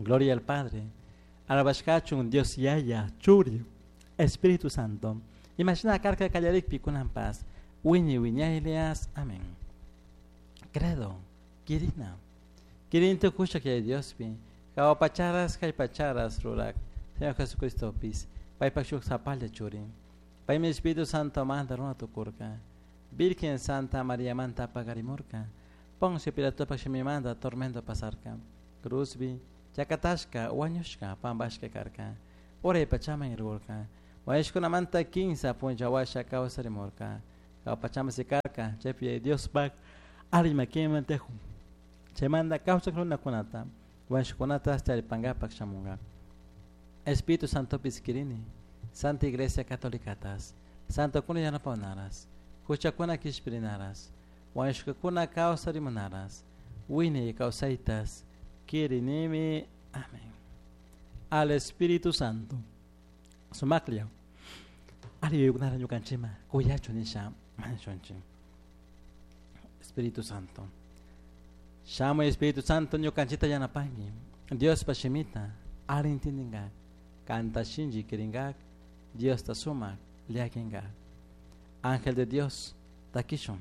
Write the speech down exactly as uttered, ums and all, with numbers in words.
Gloria al Padre. Alabashkachun Dios Yaya, Churi, Espíritu Santo. Imashina karka kallarikpi kunanpas. Wiñay wiñaylias. Amén. Credo. Kirina. Kirin tukushak Yaya Diospi. Jahua pacharas kay pacharas rurak. Señor Jesucristopis. Paypak shuk sapalla churi. Paymi Espíritu Santo manta runa tukurka. Virgen Santa María manta pagarimurka. Poncio Pilatopak shimimanta tormento pasarka. Cruzbi, chakatashka, wañushka, pampashka karka. Uray pachaman rirkurka. Wañushkunamanta kinsa punlla washa kawsarimurka. Jahua pachaman sikarka, chaypi Diospak alli makiman tiyakun. Chaymanta kawsak runakunata, wañushkunata taripankapak shamunka. Espíritu Santopis kirini, Santa Iglesia Catolicatas, Santokuna yanapanaras, huchakuna kishpirinaras, wañushkakuna kawsarimunaras, wiñay kawsaytas, kirinimi. Amén. Al Espíritu Santo. Sumaklla. Ali yuyaykunata ñukanchikman kuyachu nisha mañashunchik. Espíritu Santo. Shamuy Espíritu Santo ñukanchikta yanapanki. Diospa shimita ali intindinka. Kanta shinchi kirinka. Diosta sumak llakinka. Ángel de Dios, takishun.